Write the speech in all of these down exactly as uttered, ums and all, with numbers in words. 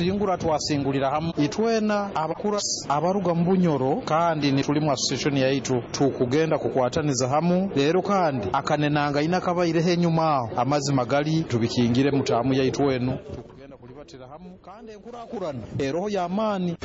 Kusingura twasingulira hamu itwena abakura abaruga mu Bunyoro, kandi nitulimu association yaitu tukugenda kukwataniza hamu leero, kandi akanenanga ina kabaireho enyuma aho amazima gali tubikingire mutamu yaitu enu tukugenda kulibatira hamu, kandi enkurakurana eroho y'amaani.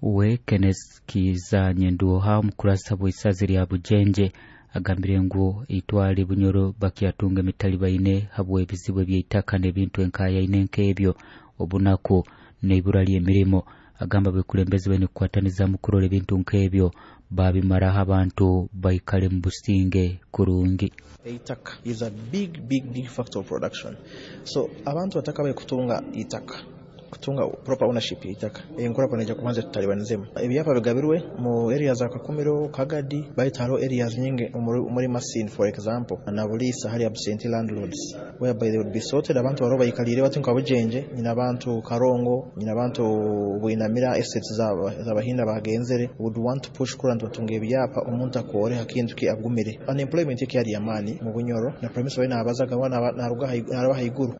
We Kenneth Kiza Nyenduoha, omukurasa bw'isazi lya Bujenje, agambire ngu itwale Bunyoro bakyatunga emitali baine habw'ebizibu eby'eitaka n'ebintu enkayaine nk'ebyo obunaku n'ibura ly'emirimo. Agamba bekulembezi baine kukwataniza mu kurora ebintu nk'ebyo babimaraho abantu baikale mu businge kurungi. Eitaka is a big big big factor of production, so abantu batakabaye kutunga itaka, kutunga proper ownership y'eitaka, enkulaakulana ejja kubanza tutalibanizemu. Ebyapa bigabirwe mu areas za Kakumiro, Kagadi, baitu hariho areas nyingi muri Masindi, for example, na Buliisa hari absentee landlords whereby they would be sorted. Abantu bariho bayikalire bati nka Bujenje, nyina abantu Karongo, nyina abantu Bwinamira, estates z'abahinda bagenzere would want to push kurora nti batunga ebyapa omuntu akore hakintu ki agumire. Unemployment ekyari yamaani mu Bunyoro, na premise bari nabazaga naruga naraba haiguru.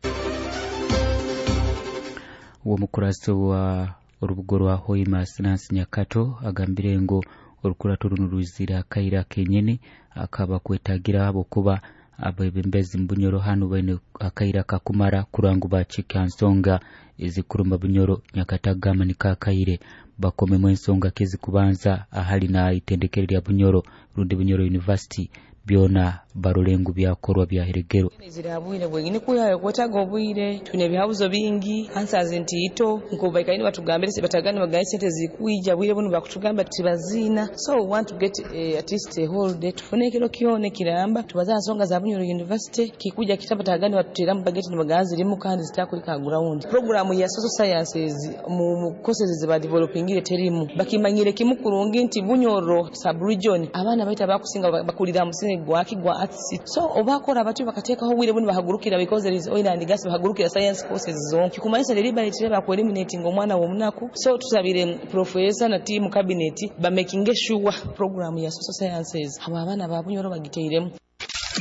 Uwo mukurasi wa urubugo rwa Hoima Sinansi Nyakato agambire ngu orukurato runo rwizira akaira kenyene akaba kwetagira abo kuba abebembezi mu Bunyoro hano baine akaira kakumara kurangu bacika nsonga ezikurumba Bunyoro. Nyakato agamba nikakaire bakomemu ensonga kezi kubanza ahali na itendekero lya Bunyoro rundi Bunyoro University byona barulengu byakorwa bya heregero. Zira bwire bwengine kuya kwetaga obwire tune bihabuzo bingi answers nti ito nko baikaini batugambire batagani bagaye sente zikuija bwire bunu bakutugamba tibazina, so we want to get uh, at least a whole day tufune kiro kyone kiramba tubaza nsonga za Bunyoro University kikuja kitaba tagani batutera mu budget nibagazi rimu kandi zitakwika ground. Program ya social sciences mu courses ziba developingire terimu bakimanyire kimukurungi nti Bunyoro sub region abaana baita bakusinga bakulira musingi gwaki gwa arts, so obakora batu bakateekaho obwire bunu bahagurukira because there is oil and gas bahagurukira science courses zonka kikumanyisa deliberately ba eliminating omwana w'omunaku. So tusabire professor na team cabinet ba making sure program ya social sciences abo abaana ba Bunyoro bagiteiremu.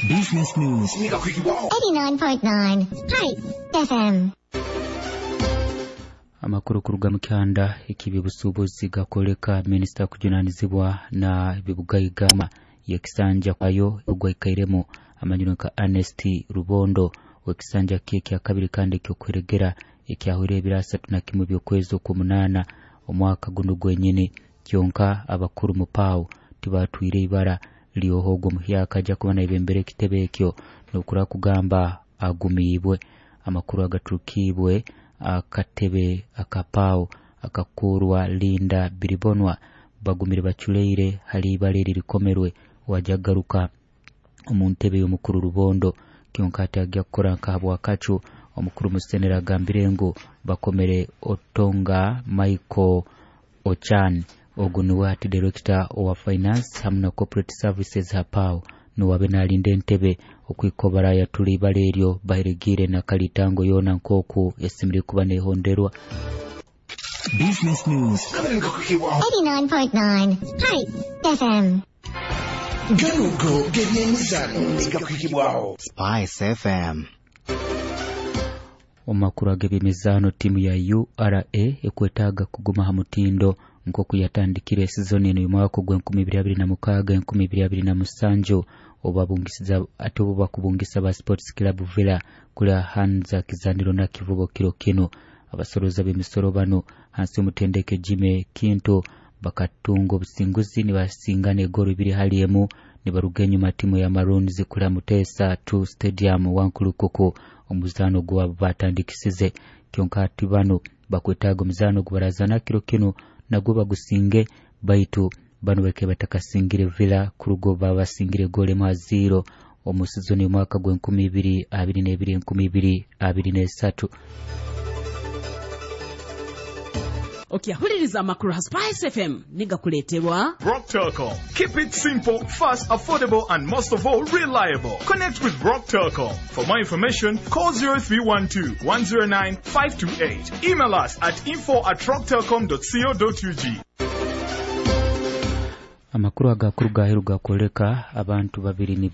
Business News eighty-nine point nine Spice F M. Amakuru kuruga mu kyanda eky'ebyobusuubuzi gakoleka minisita kujunanizibwa na ebibugaiga yekisanja ayo ogwaikairemu amanyiro nka Ernest Rubondo wekisanja kye kya kabiri kandi ekyokweregera ekyahwire ebiro asatu na kimwe by'okwezi okw'omunaana omwaka guno gwenyini. Kyonka abakuru mu PAO tibatwire ibara lyohogo muhyaka ajja kuba naibembera ekitebe ekyo nokura kugamba agumiibwe. Amakuru agaturukibwe akatebe akapao akakurwa Linda Biribonwa bagumire baculeire hali ibara erikomerwe wajagaruka omu ntebe y'omukuru Rubondo. Kyonka ate ajja kukora nka habwakacu omukuru Musenera agambire ngu bakomere Otonga Michael Ochan ogu niwe ati director wa finance hamwe na corporate services hapao niwabe nalinda entebe okwikobara yatuli ibara eryo bahiregire na kalitango yona nkoku esimire kuba nehonderwa. Business News eighty-nine point nine Spice F M. Ganugo gebyemizano negakwikibwaho Spice F M. Omakuru ag'ebyemizano timu ya U R A ekwetaaga kuguma ha mutindo nkoku yatandikire season eno y'omwaka gw'enkumi ibiri abiri na mukaaga enkumi ibiri abiri na musanju obabungisiza ate obo bakubungisa ba Sports Club Villa kula Hanza Kizaniro na Kivubo kiro kino. Abasoroza b'emisoro bano hansi y'omutendeke Jimmy Kinto bakatunga obusinguzi nibasingana egoro ibiri hali emu nibaruga enyuma timu ya Maroons kula Mutesa two Stadium Wankulukuku omuzano gwabo batandikisize. Kyonka ati bano bakwetaaga omuzano gubarazana kiro kino nagwo bagusinge, baitu bano bake batakasingire Villa kurugo babasingire gole mu zero omu sizoni y'omwaka gw'enkumi ibiri abiri n'ebiri enkumi ibiri abiri n'esatu. Okyahuliriza amakuru ha Spice F M nigakuleeterwa Rock Telcom. Keep it simple, fast, affordable and most of all reliable. Connect with Rock Telcom. For more information, call zero three one two, one zero nine, five two eight. Email us at info at rocktelcom dot co dot U G. Amakuru agakuru gaheru gakoleka abantu babiri nibo